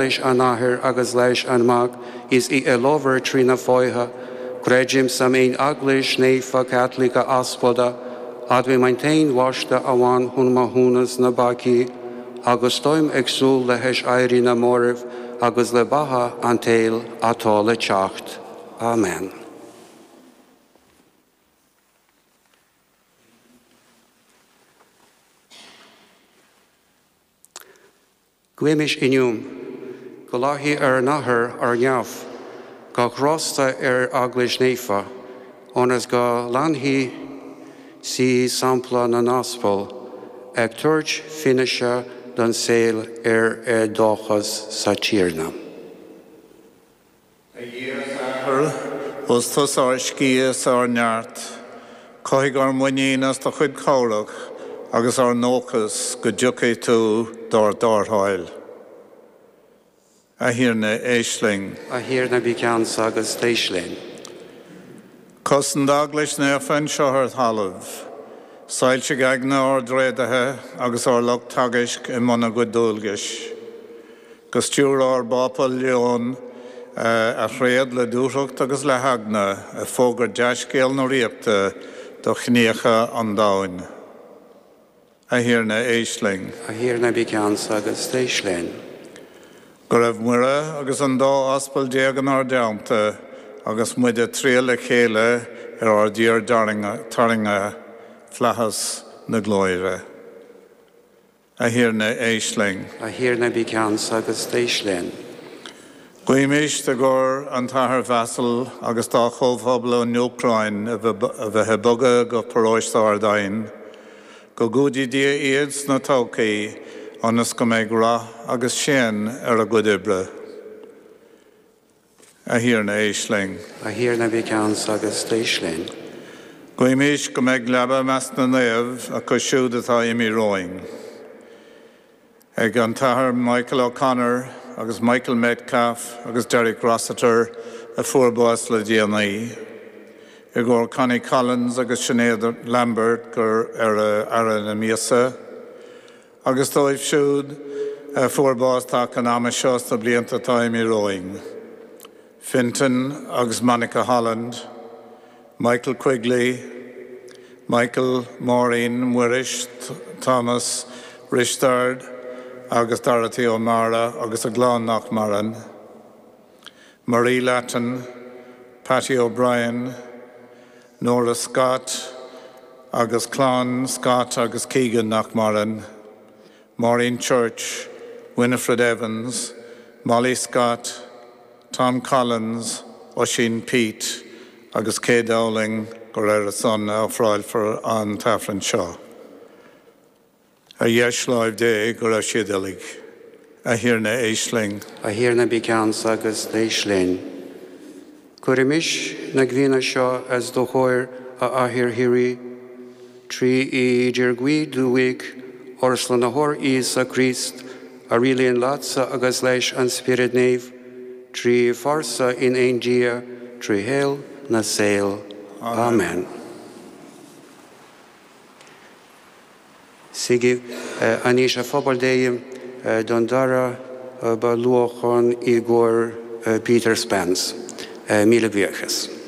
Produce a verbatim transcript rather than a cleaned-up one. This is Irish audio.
Leis an Athair agus leis an Mac is í a labhair trí na fáithe, creidim san aon Eaglais Naofa Caitliceach Aspalda, admhaím an t-aon bhaisteadh amháin chun maithiúnas na bpeacaí, agus táim ag súil le haiséirí na marbh agus le beatha an tsaoil atá le teacht. Amen. Guímis inniu go láithí ar an Athair ar neamh, gach grásta ar Eaglais Naofa, ionas go leanfaidh sí sampla na n-aspal, ag tabhairt fianaise don saol ar a dóchas sa Tiarna. A Dhia is Athair, ós tusa ár sciath is ár neart, cothaigh ár muinín as do chuid cabhrach agus ár ndóchas go dtiocfaidh tú dár dtarrtháil. A Thiarna, éist linn. A Thiarna bí ceansa agus éist linn. Cosain d'Eaglais naofa anseo ar talamh, soilsigh aigne ár dtréadaithe agus ár lucht teagaisc i mbun a gcuid dualgais. Go stiúra ár bPápa Leon a thréad le dúthracht agus le heagna ag fógairt dea-scéal na Ríochta do chiníocha an domhain. A Thiarna, éist linn. A Thiarna bí ceansa agus éist linn. Go raibh Muire agus an dá aspal déag inár dteannta agus muid ag triall le chéile ar ár dtír tarraingthe, flaitheas na glóire. A Thiarna, éist linn. A Thiarna bí ceansa agus éist linn. Guímis i gcomhair an tAthair Vasil agus dá chomhphobal ón Úcráin a bheith ag bogadh go paróiste Ard Aidhne, go gcumhdaí Dia iad sna todhchaí ionas go mbeidh rath agus séan ar a gcuid oibre. A Thiarna, éist linn. A Thiarna bí ceansa agus éist linn. Guímis go mbeidh leaba i measc na naomh acu siúd atá imithe romhainn. Ag an tAthair Michael O'Connor agus Michael Metcalf agus Derek Rossiter a fuair bás le déanaí. I gcomhair Connie Collins agus Sinéad Lambert gur ar fhaire na míosa, agus dóibh siúd a fuair bás taca an ama seo sna blianta atá imithe romhainn. Fintan agus Monica Holland, Michael Quigley, Michael, Maureen, Muiris, Thomas, Risteard agus Dorothy O'Mara agus a gclann nach maireann, Marie Latton, Patty O'Brien, Nora Scott agus clann Scott agus Keegan nach maireann, Maureen Church, Winifred Evans, Molly Scott, Tom Collins, Oisín Pete agus Kay Dowling gur ar a son a ofráilfear an t-aifreann seo. Ar dheis láimh Dé go raibh siad uilig. A Thiarna, éist linn. A Thiarna bí ceansa agus éist linn. Cuirimis na guíonna seo os do chomhair a Athair Shíoraí, trí idirghuí do Mhic, ár Slánaitheoir Íosa Críost, a rialaíonn leatsa agus leis an Spiorad Naomh, trí phearsa in aon Dia, trí shaol na saol. Amen. Suígí anois a phobal Dé don dara bailiúchán i gcomhair Peter Spence. Míle buíochas.